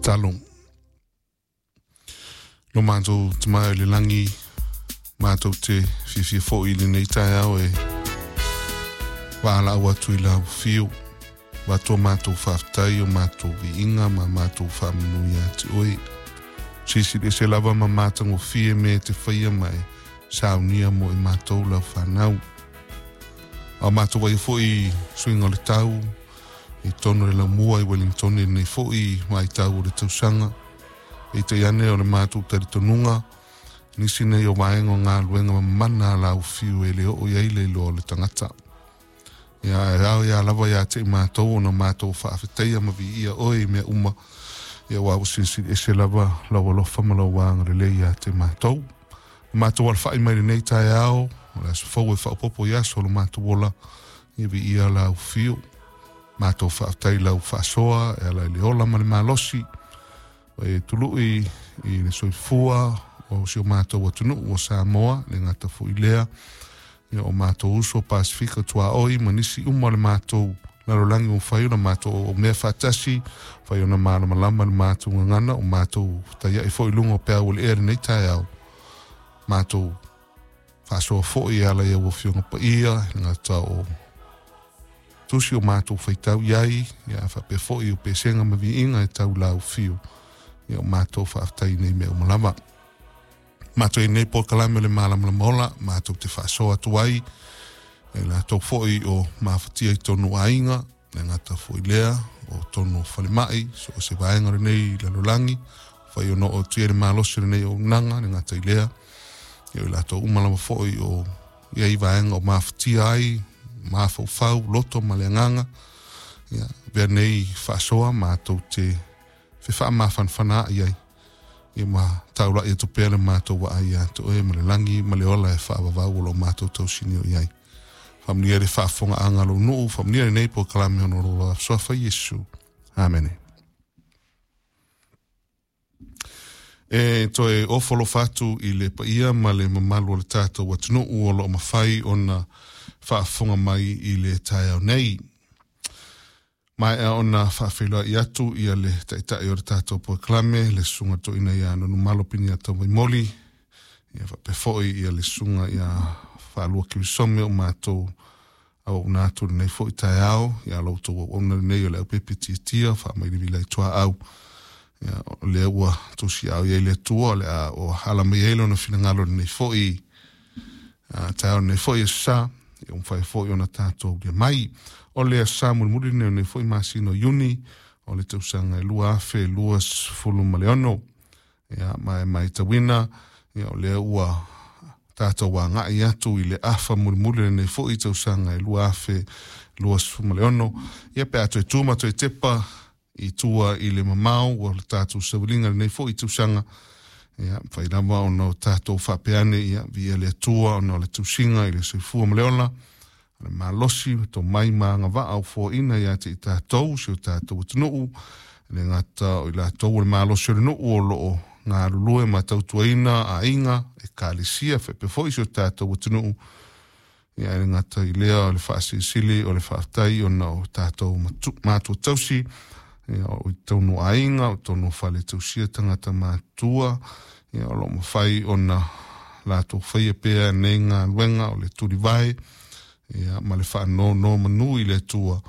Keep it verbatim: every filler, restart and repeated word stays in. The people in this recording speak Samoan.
Talo. Lo mātou te mai o le langi, mātou te fiafia foi i lenei taeao e waalaau atu i lau fiu. Watoa mātou faafetai o mātou viiga ma mātou faamanu ia te oe. Silisili ese lava ma matagofie mea e te faia ma e saunia mo i mātou lau whanau. A mātou vai foi suiga o le tau, i tonu le laumua i Wellington i lenei foi vaitau o le tausaga. Peitai ane o le mātou talitonuga, nisi nei o vaega o galuega mamana a lau fiu e le oo i ai le iloa o le tagata. Ia, e ao ia lava ia te i mātou ona mātou faafetaia ma viia oe i mea uma. Ia aua ua silisili ese lava lau alofa ma lau agalelei ia te mātou. O mātou alafai mai lenei taeao, o le aso fou e faaopoopo i aso o lo matou ola, ia viia lau fiu. Matou faafetai i lau faasoa e ala i le ola ma le malosi, e tului i le soifua o si o matou atunuu o Samoa, le gata foi lea, ia o matou uso Pasifika tuaoi ma nisi uma o le matou lalolagi ua mafai ona matou mea faatasi, mafai ona malamalama le matou gagana, o matou taiai foi i luga o peau o le ea lenei taeao, matou faasoa foi e ala i au Afioga Paia, le gata o tusi o matou faitau i ai, ia faapea foi o pesega ma viiga e tau lau fiu, ia o matou faafetai nei mea uma lava. Matou i nei polokalame o le Malamalama Ola, matou te faasoa atu ai, e latou foi o mafatia i tonu aiga, le gata foi lea, o tonu falemai, so o se vaega lenei lalolagi, fai ona oo atu i ai le malosi o lenei auaunaga, le gata i lea, ia o latou uma lava foi o i ai vaega o mafatia ai, mafaufau, loto ma le agaga, ia, avea nei faasoa matou te fefaamafanafanaai ai, ia ma taulai atu pea le matou vaai ia te oe ma le lagi ma le ola e faavavau o lo matou tausinio i ai. Faamanuia le faafofogaaga a lou nuu, faamanuia lenei polokalame ona o lo suafa Iesu. Amene. E toe ofo alofa atu i le paia ma le mamalu o le tatou atunuu o lo o mafai ona faafofoga mai i le taeao nei. Maea ona faafeiloai atu ia le taitai o le tatou polokalame, le susuga toeaina ia Nanumalo Piniata Waimoli, ia faapea foi ia le susuga ia Faalua Kirisome o matou auauna atu lenei foi taeao, ia lo outou auauna lenei o le aupepe tiatia faamailivila i tuaau. Ia, o lea ua tusiao i ai le Atua, o le a o ala mai ai lona finagalo lenei foi taeao lenei foi aso Sa, ia ua mafai foi ona tatou ulia mai. O le aso Sa mulimuli lenei o lenei foi masina o Iuni, o le tausaga e lua afe luasefulu ma le ono. Ia, ma e matauina, ia, o lea ua tatou agai atu i le afa mulimuli lenei foi tausaga e lua afe luasefulu ma le ono. Ia, pe a toe tu ma toe tepa i tua i le mamao o le tatou sauiliga lenei foi tausaga, ia, mafai lava ona o tatou faapea ane, ia, viia le Atua ona o le tausiga i le soifua ma le ola, o le malosi, tomai ma agavaa o foaina ia te i tatou, si o tatou atunuu, le gata o i latou o le malosi o le nuu o loo galulue ma tautuaina aiga, ekalesia, faapea foi si o tatou atunuu. Ia, e le gata i lea o le faasilisili o le faafetai ona o tatou matua tausi, ia, o i tonu aiga, o tonu fale tausia tagata matua, ia, o lo o mafai ona latou faia pea nei galuega o le tulivae, ia, ma le faanonomanu i le Atua.